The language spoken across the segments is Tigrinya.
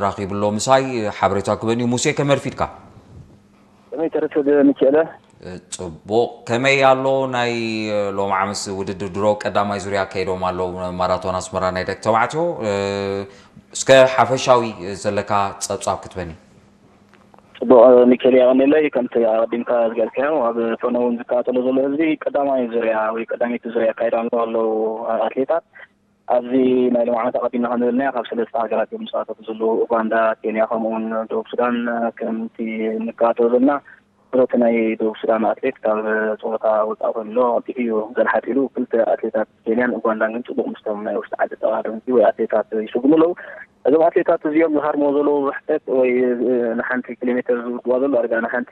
ራኺብሎ ምሳይ ሓበሬታ ክበን እዩ። ሙሴ፣ ከመይ ኣርፊድካ? ከመይ ተረፈ ሚኪኤለ? ጽቡቕ። ከመይ ኣሎ ናይ ሎሚ ዓመስ ውድድር? ድሮ ቀዳማይ ዙርያ ከይዶም ኣለዉ ማራቶን ኣስመራ ናይ ደቂ ተባዕትዮ። እስከ ሓፈሻዊ ዘለካ ጸብጻብ ክትበኒ? ጽቡቕ ሚኪኤለ፣ የቐንየለይ። ከምቲ ኣቐዲምካ ዝገልጽካዮ፣ ኣብ ፈነው እውን ዝከታተሎ ዘሎ ህዝቢ ቀዳማይ ዙርያ ወይ ቀዳመይቲ ዙርያ ኣካይዳ ኣለዉ ኣለዉ ኣትሌታት። ኣብዚ ናይ ሎሚ ዓመት ኣቐዲምና ከም ዝበልናዮ ካብ ሰለስተ ሃገራት እዮም ዝሳተፉ ዘለዉ፣ ኡጋንዳ፣ ኬንያ ከምኡውን ደቡብ ሱዳን። ከምቲ ንከታተሎ ዘለና ብረቲ ናይ ደቡብ ሱዳን ኣትሌት ካብ ፀወታ ወፃኢ ኮይኑ ኣሎ፣ ቀልጢፉ እዩ ዘልሓጥ ኢሉ ክልተ ኣትሌታት ኬንያን ኡጋንዳን ግን ፅቡቕ ምስቶም ናይ ውሽጢ ዓዲ ተቐዳደምቲ ወይ ኣትሌታት ይስጉሙ ኣለዉ። እዞም ኣትሌታት እዚኦም ዝሃርምዎ ዘለዉ ርሕቀት ወይ ንሓንቲ ኪሎ ሜትር ዝውድዋ ዘለዉ ዳርጋ ንሓንቲ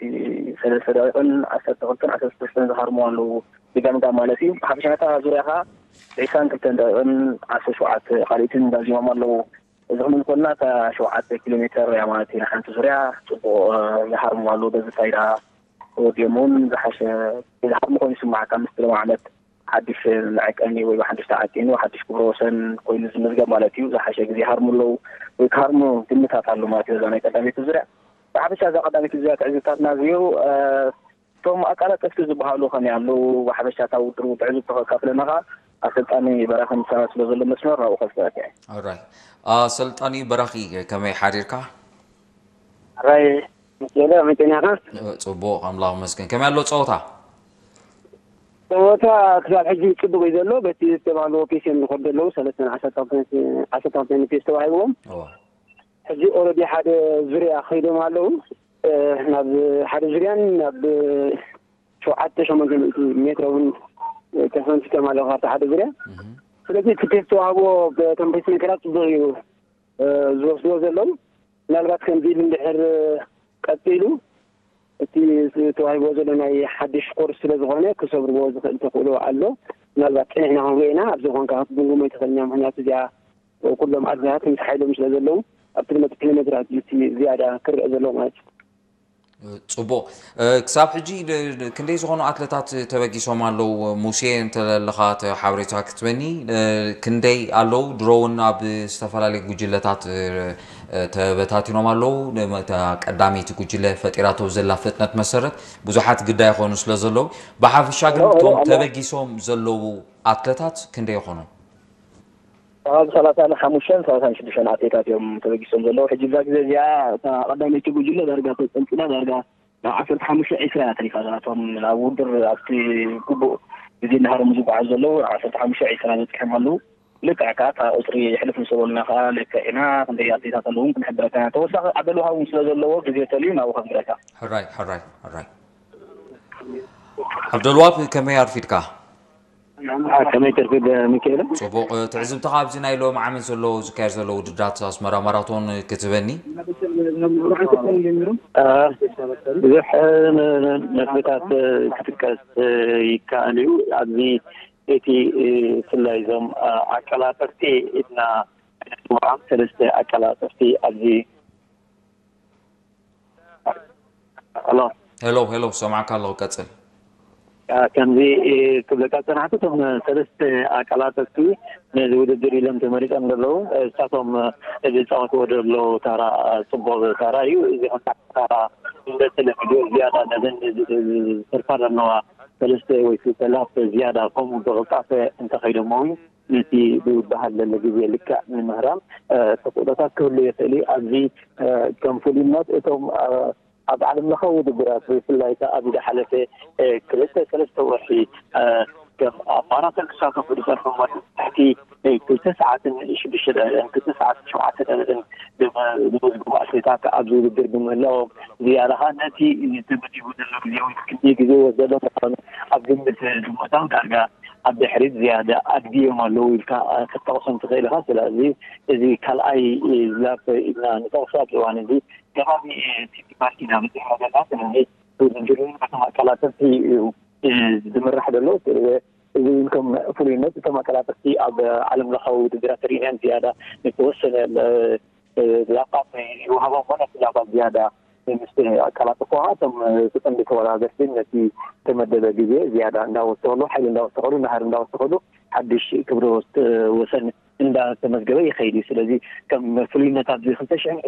ሰለስተ ደቂቕን ዓሰርተ ክልተን ዓሰርተ ሰለስተን ዝሃርምዎ ኣለዉ። ብገምጋም ማለት እዩ። ብሓፈሻ ነታ ዙርያ ከዓ ዒስራን ክልተን ደቂቕን ዓሰርተ ሸውዓተ ካልኢትን ዛዚሞም ኣለዉ። እዚ ክንብል ከለና እታ ሸውዓተ ኪሎ ሜትር እያ ማለት እዩ። ንሓንቲ ዙርያ ፅቡቕ ይሃርሙ ኣለዉ። በዚ ፋይዳ ተወዲኦም እውን ዝሓሸ ዝሃርሙ ኮይኑ ይስማዓካ። ምስቲ ሎም ዓመት ሓድሽ መዐቀኒ ወይ ሓድሽ ተዓቂኑ ሓድሽ ክብረ ወሰን ኮይኑ ዝምዝገብ ማለት እዩ። ዝሓሸ ግዜ ይሃርሙ ኣለዉ ወይ ክሃርሙ ግምታት ኣሎ ማለት እዩ። እዛ ናይ ቀዳመይቲ ዙርያ ብሓፈሻ እዛ ቀዳመይቲ ዙርያ ትዕዝብታትና ዝዮ እቶም ኣቃላጠፍቲ ዝበሃሉ ከመይ ኣለዉ? ብሓፈሻ እታ ውድድር ትዕዝብቲ ከካፍለና ከኣ ኣሰልጣኒ በራኺ ምሳና ስለ ዘሎ መስመር ናብኡ ከስዕበካ እየ። ኦራይ። ኣሰልጣኒ በራኺ ከመይ ሓዲርካ? ሕራይ ሚኪኤለ ከመይ ጸኒሕካ? ጽቡቕ ኣምላኽ ይመስገን። ከመይ ኣሎ ጸወታ? ጸወታ ክሳብ ሕጂ ጽቡቕ እዩ ዘሎ። በቲ ዝተባህልዎ ፔስ እዮም ዝኸዱ ዘለዉ። ሰለስተን ዓሰርተ ክልተን ፔስ ተዋሂብዎም። እዋ። ሕጂ ኦረዲ ሓደ ዙርያ ከይዶም ኣለዉ። ናብ ሓደ ዙርያን ናብ ሸውዓተ ሸሞንተ ሚእቲ ሜትሮ እውን ተፈንቲቶም ኣለዉ ካብቲ ሓደ ዙርያ። ስለዚ እቲ ፔስ ተዋህቦ በቶም ፔስ ሜከራት ፅቡቅ እዩ ዝወስድዎ ዘለዉ። ምናልባት ከምዚ ኢሉ እንድሕር ቀፂሉ እቲ ተዋሂብዎ ዘሎ ናይ ሓድሽ ኮርስ ስለ ዝኾነ ክሰብርዎ ዝኽእል ተኽእሎ ኣሎ። ምናልባት ፀኒሕና ክንሪኦ ኢና። ኣብዚ ኾንካ ክትግምግሞ ኣይትኽእልን እያ። ምክንያቱ እዚኣ ኩሎም ኣትሌታት ምስ ሓይሎም ስለ ዘለዉ ኣብቲ ዝመፅእ ኪሎ ሜትራት እዩ እቲ ዝያዳ ክረአ ዘለዎ ማለት እዩ። ጽቡቕ። ክሳብ ሕጂ ክንደይ ዝኾኑ ኣትለታት ተበጊሶም ኣለዉ? ሙሴ እንተለኻ ሓበሬታ ክትበኒ ክንደይ ኣለዉ? ድሮ እውን ኣብ ዝተፈላለዩ ጉጅለታት ተበታቲኖም ኣለዉ። ቀዳመይቲ ጉጅለ ፈጢራቶ ዘላ ፍጥነት መሰረት ብዙሓት ግዳ ይኾኑ ስለ ዘለዉ ብሓፈሻ ግን እቶም ተበጊሶም ዘለዉ ኣትለታት ክንደይ ይኾኑ? ካብ ሰላሳን ሓሙሽተን ሰላሳን ሽዱሽተን ኣትሌታት እዮም ተበጊሶም ዘለዉ። ሕጂ እዛ ግዜ እዚኣ እታ ቀዳመይቲ ጉጅለ ዳርጋ ተፀልፂላ ዳርጋ ናብ ዓሰርተ ሓሙሽተ ዒስራ እያ ተሪፋ እዛ። እቶም ኣብ ውድድር ኣብቲ ግቡእ ግዜ እናሃረሙ ዝጓዓዙ ዘለዉ ዓሰርተ ሓሙሽተ ዒስራ በፂሖም ኣለዉ። ልክዕ ከዓ እታ ቁፅሪ ሕልፍ ምስ በሉና ከዓ ልክዕ ኢና ክንደይ ኣትሌታት ኣለዉ እውን ክንሕብረካ ኢና። ተወሳኺ ዓብደልውሃብ እውን ስለ ዘለዎ ግዜ ተልዩ ናብኡ ከንብረካ። ሕራይ ሕራይ ሕራይ። ዓብደልዋብ ከመይ ኣርፊድካ? ከመይ ትርፊ ሚካኤል? ጽቡቕ። ትዕዝብትኻ ኣብዚ ናይ ሎሚ ዓመት ዘሎ ዝካየድ ዘሎ ውድድራት ኣስመራ ማራቶን ክትበኒ? ብዙሕ ነጥብታት ክጥቀስ ይከኣል እዩ። ኣብዚ እቲ ብፍላይ እዞም ኣቀላጠፍቲ ኢልና ንፅውዖም ሰለስተ ኣቀላጠፍቲ ኣብዚ ኣሎ። ሄሎ ሄሎ፣ ሰማዕካ ኣለኹ፣ ቀጽል። ከምዚ ክብለካ ዝጸናሕኩ፣ እቶም ሰለስተ ኣቀላጠፍቲ ነዚ ውድድር ኢሎም ተመሪጾም ዘለዉ፣ እሳቶም ዝጻወትዎ ዘለዉ ታራ ጽቡቕ ታራ እዩ። እዚ ከም ታራ እንደ ተለሚዱ ዝያዳ ነዘን ዝተርፋ ዘለዋ ሰለስተ ወይ ክልተ ላፕ ዝያዳ ከምኡ ብቕልጣፈ እንተኸይዶሞ እውን ነቲ ዝወሃብ ዘሎ ግዜ ልክዕ ንምህራም ተኽእሎታት ክህሉ ይኽእል እዩ። ኣብዚ ከም ፍሉይነት እቶም ኣብ ዓለም ለኻዊ ውድድራት ብፍላይ ከኣ ኣብዚ ዝሓለፈ ክልተ ሰለስተ ወርሒ ከም ኣብ ማራቶን ክሳተፉ ዝጸንሑ ትሕቲ ክልተ ሰዓትን ሽዱሽተ ደቂቕን ክልተ ሰዓትን ሸውዓተ ደቂቕን ዝመዝገቡ ኣትሌታት ኣብዚ ውድድር ብምህላዎም ዝያዳ ከኣ ነቲ ተመዲቡ ዘሎ ግዜ ወይ ክንደይ ግዜ ይወስድ ዘሎ ምዃኑ ኣብ ግምት ብምእታው ዳርጋ ኣብ ድሕሪት ዝያዳ ኣድግዮም ኣለዉ ኢልካ ክትጠቕሶም ትኽእል ኢኻ። ስለዚ እዚ ካልኣይ ላፕ ኢልና ንጠቕሶ ኣብዚ እዋን እዚ ከባቢ ሲቲ ፓርክ ኢና በፂሕና ዘለና። ስለዚ ውድድር እውን በቶም ኣቀላጠፍቲ እዩ ዝምራሕ ዘሎ። እዚ እውን ከም ፍሉይነት እቶም ኣቀላጠፍቲ ኣብ ዓለም ለኻዊ ውድድራት ሪእናዮም ዝያዳ ንተወሰነ ላፓት ይወሃቦም እሞ ነቲ ላፓት ዝያዳ ምስ ኣቀላጠፍዎ ከዓ እቶም እቲ ቀንዲ ተወዳደርቲ ነቲ ዝተመደበ ግዜ ዝያዳ እንዳወሰኸሉ ሓይሊ እንዳወሰኸሉ ናህሪ እንዳወሰኸሉ ሓድሽ ክብረ ወሰን እንዳተመዝገበ ይኸይድ እዩ። ስለዚ ከም ፍሉይነት ኣብዚ ክልተ ሽሕን